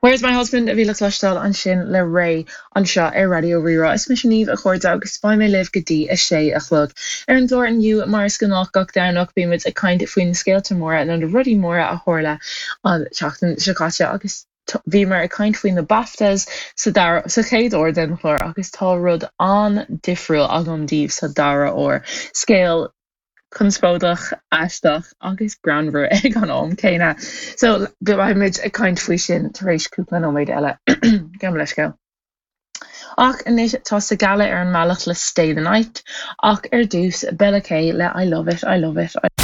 Where's My Husband a bhí le cloisteáil ansin le Raye anseo ar Raidió Rí-Rá. Is mise Niamh a chairde agus beidh mé libh go dtí a sé a chlog. Ar an gclár inniu, mar is gnách gach Domhnach, bímid ag caint faoi na scéalta móra nó na rudaí móra a tharla an tseachtain seo caite agus bhíomar ag caint faoi na BAFTAs sa dara sa chéad uair den chlár agus tá rud an-difriúil agam daoibh sa dara huair. Scéal conspóideach, aisteach agus greannmhar ag an am céanna. So, beidh muid ag caint faoi sin tar éis cúpla nóiméad eile. Gabh mo leithscéal. Ach anois tá Sigala ar an mbealach le Stay the Night, ach ar dtús, Bella K le I Love It, I Love It, I.